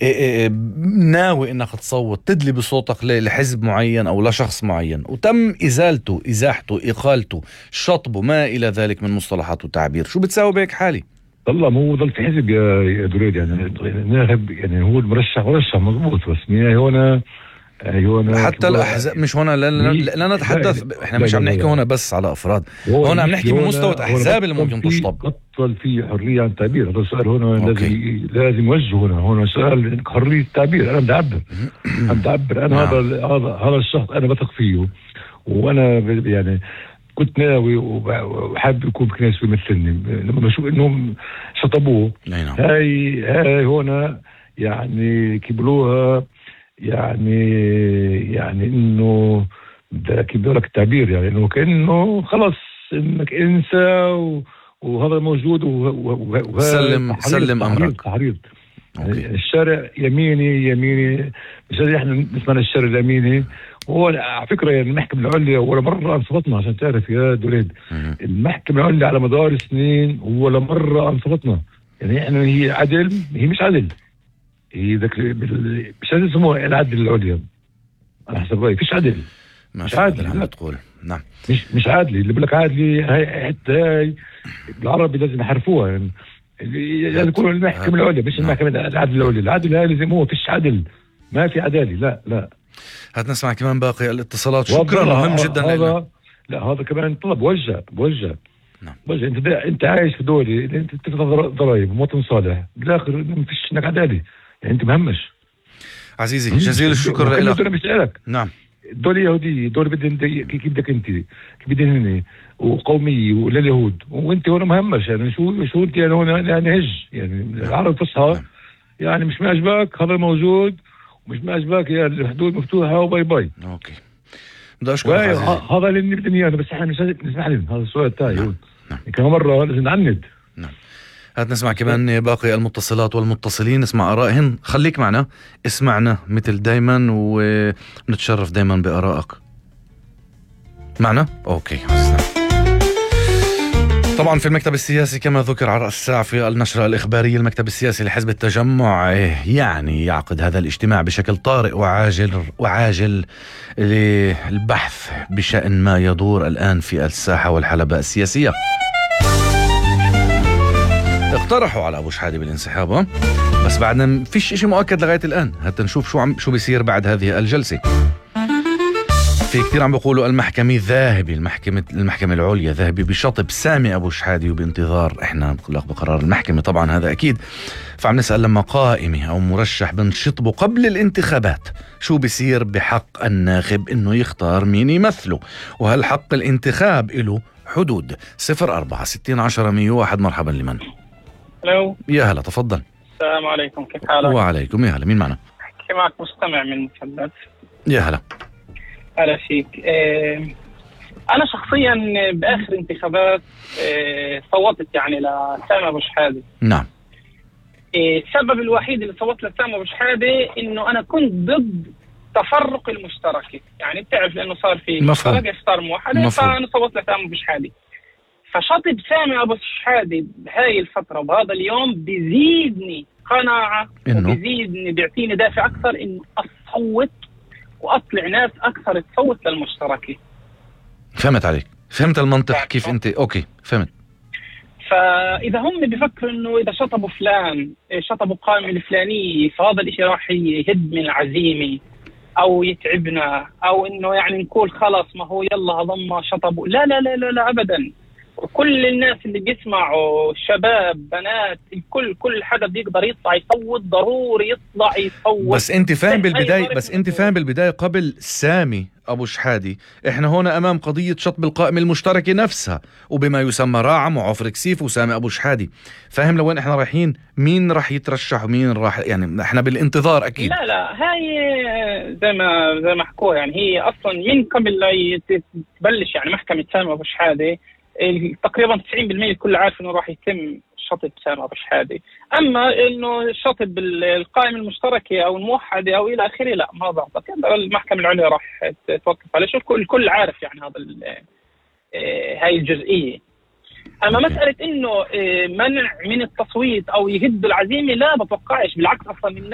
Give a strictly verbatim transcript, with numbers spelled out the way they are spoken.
إيه إيه ناوي انك تصوت تدلي بصوتك لحزب معين او لشخص معين وتم ازالته ازاحته اقالته شطبه ما الى ذلك من مصطلحات وتعبير، شو بتساوي بهيك حالي؟ والله مو ضل في حزب يا يا دريد، يعني الناخب يعني هو المرشح مرشح مضبوط، بس نهاية هنا هنا حتى الاحزاب مش هنا، لا, لا, لا نتحدث، احنا مش عم نحكي هنا بس على افراد، هنا عم نحكي بمستوى احزاب اللي ممكن تشطب. بطل في حريه عن التعبير، هذا السؤال هنا لازم لازم يوجه هنا هنا سؤال حريه التعبير. انا بدي اعبر انا بدي اعبر انا هذا هذا هذا الشخص انا بثق فيه، وانا يعني كنت ناوي وحابب يكون بكنيسة ويمثلني. لما بشوف انهم شطبوه هاي هاي هنا يعني كبلوها، يعني يعني انه كيف بدي لك التعبير، يعني انه كانه خلص انك انسى وهذا موجود وهذا سلم سلم امرك. تحريض الشارع يميني يميني، مش احنا نسمع الشارع اليميني. هو على فكره يعني المحكمه العليا ولا مره انصفتنا، عشان تعرف يا دوليد المحكمه العليا على مدار سنين ولا مره انصفتنا. يعني احنا هي عدل، هي مش عدل، هي ذاك مش عدل يسموها العدل العليا على حسب رايي، فيش عدل، مش عادل عم تقول. نعم مش مش عادل. اللي بقول لك عادل هاي حتى هاي بالعربي لازم يحرفوها، يعني لازم يكون المحكمه العليا مش المحكمه العدل العليا. العدل هاي لازم هو فيش عدل، ما في عداله. لا لا هات نسمع كمان باقي الاتصالات. شكرا مهم جدا. هذا لا هذا كمان طلب بوجه بوجه نعم. بوجه انت انت عايش في دولة انت تدفع ضرائب مواطن صالح، بالاخر ما فيش انك عدالة، يعني انت مهمش. عزيزي جزيل الشكر لك. نعم دولة يهودية، دولة بدهم كيف بدك انت كيف بدهم وقومية ولليهود، وانت هون مهمش. يعني شو شو انت يعني هون يعني هج يعني العرب فصحى نعم. يعني مش معجبك هذا موجود ومش معجبك يا الحدود مفتوحة وباي باي. اوكي بدي اشكرك عزيزي. هذا اللي بدنا اياه، بس احنا مش نسمح لهم. هذا السؤال تاعي نعم. نعم. كم مرة لازم نعند. نعم هات نسمع كمان باقي المتصلات والمتصلين، نسمع آرائهم. خليك معنا اسمعنا مثل دايما ونتشرف دايما بآرائك. معنا اوكي. طبعا في المكتب السياسي كما ذكر على رأس الساعة في النشرة الإخبارية، المكتب السياسي لحزب التجمع يعني يعقد هذا الاجتماع بشكل طارئ وعاجل وعاجل للبحث بشأن ما يدور الآن في الساحة والحلبة السياسية. اقترحوا على أبو شحادة بالانسحاب، بس بعدنا فيش اشي مؤكد لغاية الآن، حتى نشوف شو عم شو بيصير بعد هذه الجلسة. في كتير عم بيقولوا المحكمة ذاهبة، المحكمة المحكمة العليا ذاهبة بشطب سامي أبو شحادة وبانتظار احنا بقرار المحكمة طبعا هذا أكيد. فعم نسأل لما قائمة أو مرشح بنشطبه قبل الانتخابات شو بيصير بحق الناخب إنه يختار مين يمثله، وهل حق الانتخاب له حدود؟ صفر أربعة ستين عشرة مية وواحد. مرحبا لمن؟ الو يا هلا تفضل. السلام عليكم، كيف حالك؟ وعليكم يا هلا، مين معنا؟ احكي معك مستمع من المثلث. يا هلا. هلا فيك. اه انا شخصيا باخر انتخابات اه صوتت يعني لسامي ابو شحاده. نعم. اه السبب الوحيد اللي صوتت لسامي ابو شحاده انه انا كنت ضد تفرق المشتركه، يعني بتعرف لانه صار في مشتركه صار موحده، فانا صوتت لسامي ابو شحاده. فشطب سامي ابو شحاده بهاي الفتره وبهذا اليوم بيزيدني قناعه وبيزيدني بيعطيني دافع اكثر انه اصوت واطلع ناس اكثر تصوت للمشتركه. فهمت عليك، فهمت المنطق كيف انت. اوكي فهمت. فاذا هم بيفكروا انه اذا شطبوا فلان شطبوا قائمه الفلانيه فهذا الاشي راح يهد من العزيمه او يتعبنا، او انه يعني نقول خلص ما هو يلا هضم شطبوا. لا لا لا لا, لا ابدا. وكل الناس اللي بيسمعوا شباب بنات الكل كل حدا بيقدر يطلع يصوت، ضروري يطلع يصوت. بس انت فاهم بالبداية بس انت فاهم بالبداية قبل سامي ابو شحادة احنا هنا امام قضية شطب القائمة المشتركة نفسها وبما يسمى راعم وعفر كسيف وسامي ابو شحادة. فاهم لوين احنا رايحين؟ مين راح يترشح ومين راح، يعني احنا بالانتظار اكيد. لا لا هاي زي ما زي ما حكوا، يعني هي اصلا من قبل لا تبلش يعني محكمة سامي ابو شحادة تقريبا تسعين بالمئة الكل عارف انه راح يتم شطب سامي ابو شحادة. اما انه شطب القائمة المشتركة او الموحدة او الى اخره لا ما بعتقد، المحكمة العليا راح توقف عليه. شو الكل الكل عارف يعني هذا هاي الجزئية. اما مسألة انه منع من التصويت او يهدوا العزيمة لا بتوقعش، بالعكس اصلا الناس